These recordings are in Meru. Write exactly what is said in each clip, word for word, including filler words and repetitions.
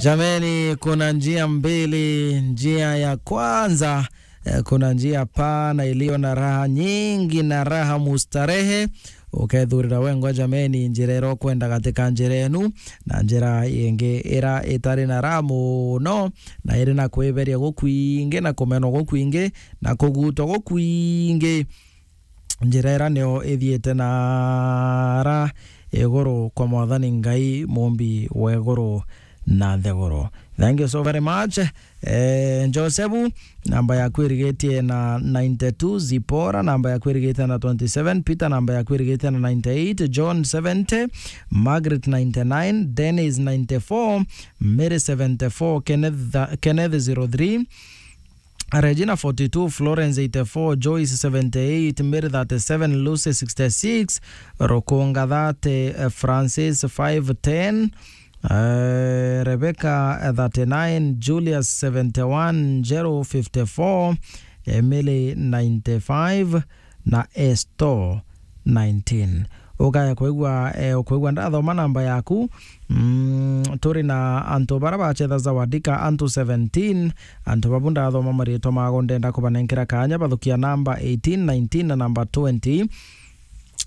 Jameni, kuna njia mbili. Njia ya kwanza, eh, kuna njia pana iliyo na raha nyingi na raha mustarehe. Ukethurira wengwa, jameni, njira iria ukwenda gatika njira enu, na njira ingi ira itari na raha muno, na iri na kwiberia gukwingi, na kumenwa gukwingi, na kugutwa gukwingi. Njira ira niyo ithiite nara iguru kwa Mwathani Ngai, mumbi wa iguru na nthiguru. Thank you so very much. Eh, Josefu, namba yaku irigitie na ninety-two, Zipora, namba yaku irigitie na twenty-seven, Peter, namba yaku irigitie na ninety-eight, John seventy, Margaret ninety-nine, Dennis ninety-four, Mary seventy-four, Kenneth, Kenneth zero three, Regina forty-two, Florence eighty-four, Joyce seventy-eight, Mary thirty-seven, Lucy sixty-six, Rukunga thirty, eh, Francis five ten, eh, Rebecca, eh, thirty-nine, Julius seventy-one, Jero fifty-four, Emily ninety-five, na Esto nineteen. Ukaya kwigua, eh, ukwigua ndathoma namba yaku. Mm, turi na antu bara bachetha Zawadika, antu seventeen. Antu babu ndathoma maritwa mago, ndenda kubanenkera kanya bathukia namba eighteen, nineteen na namba twenty.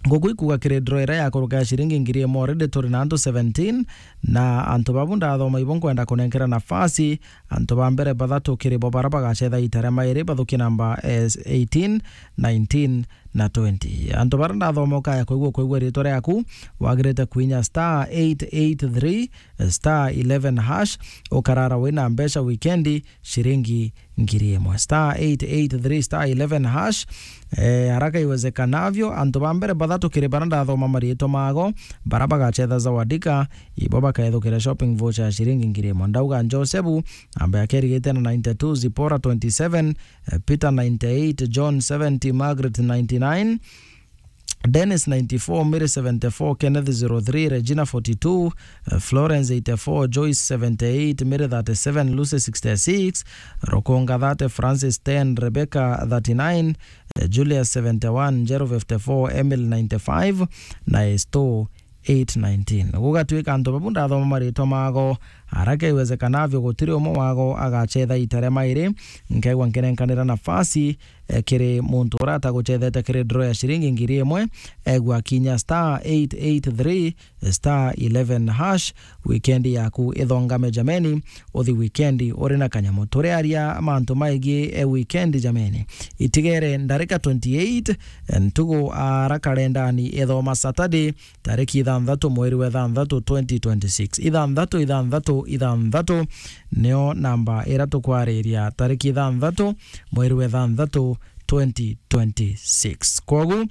Nguku ikuga kiri draw ira ya kuruka ya ciringi ngiri imwe already turi na antu seventeen, na antu babu ndathoma ibo nkwenda kunenkera nafasi. Antu ba mbere bathatu kiri bo bara bagachetha ita ria mairi bathukie namba, eh, eighteen, nineteen na twenty. Antu bara ndathoma ukaya kwigua, kwigua ritwa riaku, wagirite kuinya star eight eight three star eleven hash, ukarara wina mbeca wikendi, ciringi ngiri imwe. Star eight eight three star eleven hash. Eh, haraka iwezekanavyo, antu ba mbere bathatu kiri bara ndathoma maritwa mago, bara bagachetha Zawadika, ibo bakethukira shopping voucher ya ciringi ngiri imwe. Ndauga Josefu, namba yake irigite na ninety-two, Zipora twenty-seven, eh, Peter ninety-eight, John seventy, Margaret ninety-nine, Dennis ninety-four, Mary seventy-four, Kenneth zero three, Regina forty-two, eh, Florence eighty-four, Joyce seventy-eight, Mary thirty-seven, Lucy sixty-six, Rukunga thirty, Francis ten, Rebecca thirty-nine, eh, Julius seventy-one, Njero fifty-four, Emily ninety-five, na Esto eight nineteen. Gugatwika antu babu ndathoma maritwa mago, haraka iwezekanavyo gutiri umwe wago agachetha ita ria mairi, nkeigua nkinenkanira nafasi, eh, kiri muntu uria ataguchethete kiri draw ya ciringi ngiri imwe, egua kinya star eight eight three star eleven hash. Weekend yaku ithongame jameni, uthi weekend uri na kanyamu. Turiaria mantu maigi, eh, weekend jameni. Itigere ndarika twenty-eight, eh, ntugu ara kalendani ithoma Saturday, tariki ithanthatu mweri wa ithanthatu twenty twenty-six. Ithanthatu, ithanthatu, ithanthatu nio namba ira tukwariria, tariki ithanthatu mweri wa ithanthatu twenty twenty-six. Kwogu,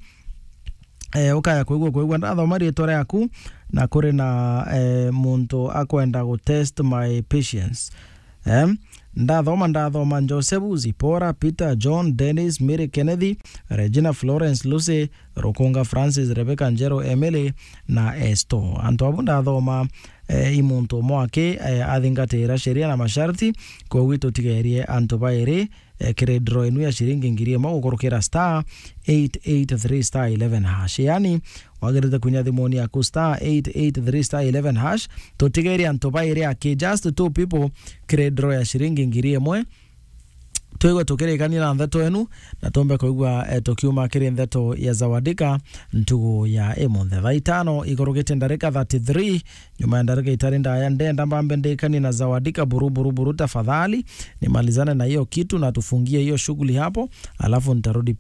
eh, ukaya kwigua, kwigua ndathoma ritwa riaku, na kuri na, eh, muntu akwenda gu test my patience. Eh, ndathoma, ndathoma Josefu, Zipora, Peter, John, Dennis, Mary, Kennedy, Regina, Florence, Lucy, Rukunga, Francis, Rebecca, Njero, Emily na Esto. Antu abu ndathoma, eh, i muntu umwe aki, eh, athingatira sheria na masharti, kwogu tutigerie antu bairi, eh, kiri draw inu ya ciringi ngiri imwe gukurukira star eight eight three star eleven hash. Yani, wagirite kunya thimuni yaku star eight eight three star eleven hash, tutigerie antu bairi aki, just two people, kiri draw ya ciringi ngiri imwe. Twigwe tukirikania na ntheto enu, na tumbe kuigua, eh, tukiuma kiri ntheto ya Zawadika ntugu ya imunthe. Thaa itano ikurukite ndarika thirty-three, nyuma ya ndarika itari ndaya, ndenda mbambe ndikanie na Zawadika buru, buru, buru, tafadhali. Nimalizane na hiyo kitu na tufungie hiyo shughuli hapo, alafu nitarudi